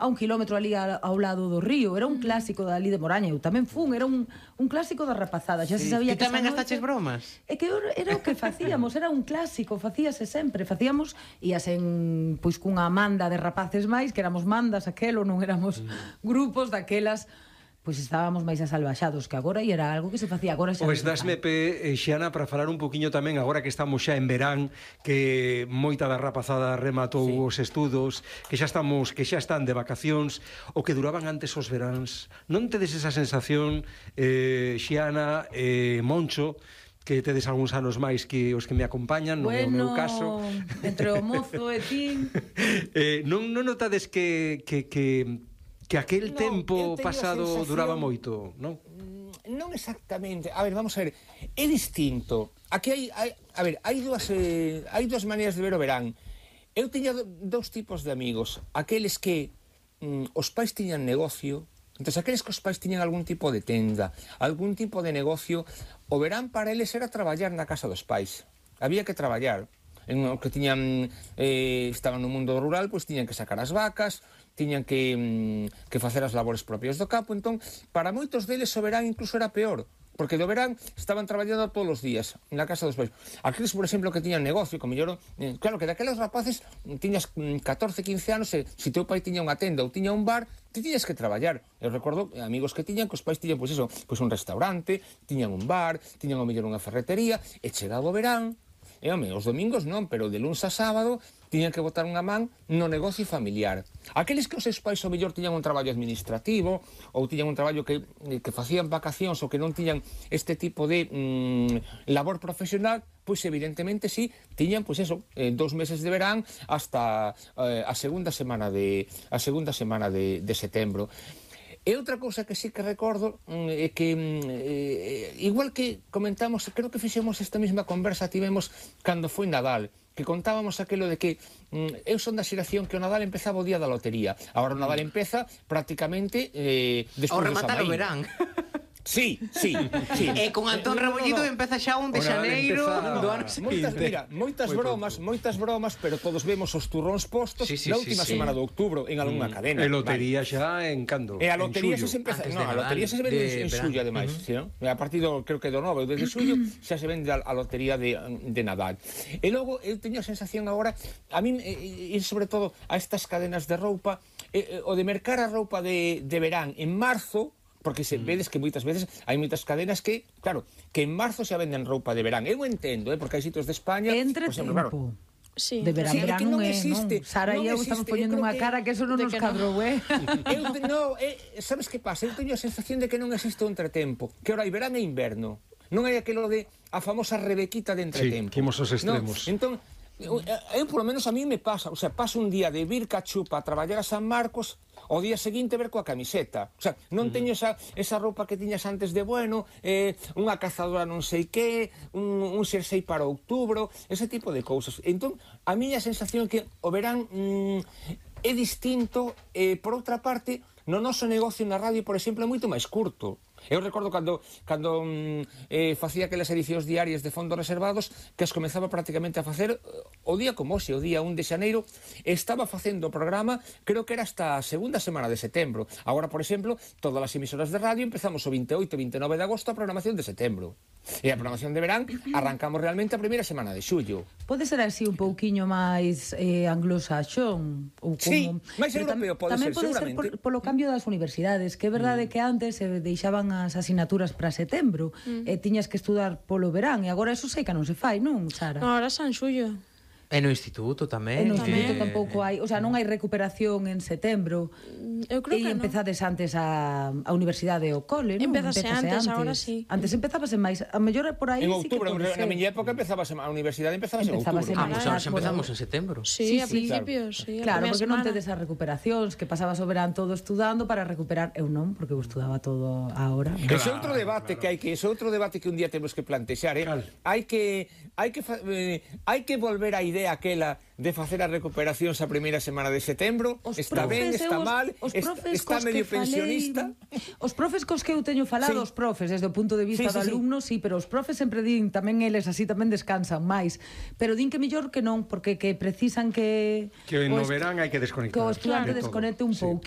a 1 kilómetro ali ao lado do río, era un clásico dali de Moraña, eu tamén fun, era un clásico da rapazada, xa se sabía que que tamén gastaches bromas? É que era o que facíamos, era un clásico, facíase sempre, facíamos, ías en, pois, cunha manda de rapaces máis, que éramos mandas aquelo, non éramos grupos daquelas, pois estábamos máis asalvaxados que agora, e era algo que se facía agora xa. Pois dasme Xiana, para falar un poquinho tamén, agora que estamos xa en verán, que moita da rapazada rematou os estudos, que xa están de vacacións, o que duraban antes os veráns. Non tedes esa sensación, Xiana, Moncho, que tedes algúns anos máis que os que me acompañan, non é o meu caso. Entre o mozo e ti. Non notades que aquel tempo pasado duraba moito, non? Non exactamente. A ver, vamos a ver. É distinto. Aquí hai dúas maneiras de ver o verán. Eu tiña dous tipos de amigos. Aqueles que os pais tiñan negocio. Entón, aqueles que os pais tiñan algún tipo de tenda, algún tipo de negocio, o verán para eles era traballar na casa dos pais. Había que traballar. Que tiñan estaban no mundo rural, pois tiñan que sacar as vacas, tiñan que facer as labores propias do campo. Entón, para moitos deles o verán incluso era peor, porque do verán estaban traballando todos os días na casa dos pais. Aqueles, por exemplo, que tiñan negocio, como mellor, claro que daqueles rapaces tiñas 14, 15 anos, e se teu pai tiña unha tenda ou tiña un bar, ti tiñas que traballar. Eu recordo amigos que tiñan, que os pais tiñan, pois eso, pois un restaurante, tiñan un bar, tiñan o mellor unha ferretería, e chegaba o verán, e home, os domingos non, pero de luns a sábado tiñan que botar unha man no negocio familiar. Aqueles que os seus pais ao mellor tiñan un traballo administrativo ou tiñan un traballo que facían vacacións ou que non tiñan este tipo de labor profesional, pois evidentemente sí, tiñan pois eso, 2 meses de verán hasta a segunda semana de setembro. E outra cousa que sí que recordo é que, igual que comentamos, creo que fixemos esta mesma conversa, tivemos cando foi Nadal, que contábamos aquelo de que eu son da xeración que o Nadal empezaba o día da lotería. Agora o Nadal empeza prácticamente despois do San rematar o verán. Sí. E con Antón Rebollido empeza xa un de xaneiro do ano seguinte. Mira, moitas bromas, pero todos vemos os turróns postos na última semana de outubro en algunha cadena. E lotería xa en cando? E a lotería xa se empeza, a lotería xa se vende en xullo, ademais, a partir do, creo que do 9 ou de xullo xa se vende a lotería de Nadal. E logo eu teño a sensación agora, a mí, e sobre todo a estas cadenas de roupa, o de mercar a roupa de verán en marzo, porque se vedes que moitas veces hai moitas cadenas que, claro, que en marzo xa venden roupa de verán. Eu entendo, porque hai sitios de España, entre por exemplo, claro, sí. De verán, verán non existe. Sara e eu estamos poñendo unha cara que eso non nos cadrou, sabes que pasa? Eu teño a sensación de que non existe o entretempo, que ora hai verán e inverno. Non hai aquilo de a famosa rebequita de entretempo. Sí, que imos aos extremos. Entón, eu, por lo menos a mí me pasa, o sea, paso un día de vir cachupa a traballar a San Marcos, o día seguinte ver coa camiseta. O sea, non teño esa roupa que tiñas antes de bueno, unha cazadora non sei que, un xersei para outubro, ese tipo de cousas. Entón, a miña sensación é que o verán é distinto, por outra parte, no noso negocio na radio, por exemplo, é moito máis curto. Eu recordo cando facía aquelas edicións diarias de fondos reservados, que as comezaba prácticamente a facer o día como hoxe, o día 1 de xaneiro, estaba facendo o programa, creo que era hasta a segunda semana de setembro. Agora, por exemplo, todas as emisoras de radio empezamos o 28 e 29 de agosto a programación de setembro. E a programación de verán arrancamos realmente a primeira semana de xullo. Pode ser así un pouquiño máis anglosaxón? Sí, máis europeo pode ser, seguramente. Tamén pode ser polo cambio das universidades, que é verdade que antes se deixaban as asignaturas para setembro e tiñas que estudar polo verán, e agora eso sei que non se fai, non, Sara? Agora San Xullo. E no instituto tamén. E no instituto tampouco hai, o sea, non hai recuperación en setembro. Eu creo que non. Empezades antes a universidade ou cole, non? Empezase antes, agora sí. Antes empezábase máis, a mellor por aí en sí que outubro, pode ser. Na miña época empezabase a universidade empezabase en outubro. Pois ahora xa empezamos en setembro. Sí, a principios, sí. Claro, porque non tedes as recuperacións, que pasabas o verán todo estudando para recuperar, eu non, porque eu estudaba todo a hora. Ese outro debate que hai que un día temos que plantexar, hai que volver á idea idea aquela de facer as recuperacións a primeira semana de setembro? Está ben, está mal, está medio pensionista? Os profes cos que eu teño falado, os profes, desde o punto de vista do alumno, sí, pero os profes sempre din, tamén eles así tamén descansan máis, pero din que mellor que non, porque que precisan que no verán hai que desconectar. Que o estudante desconecte un pouquinho.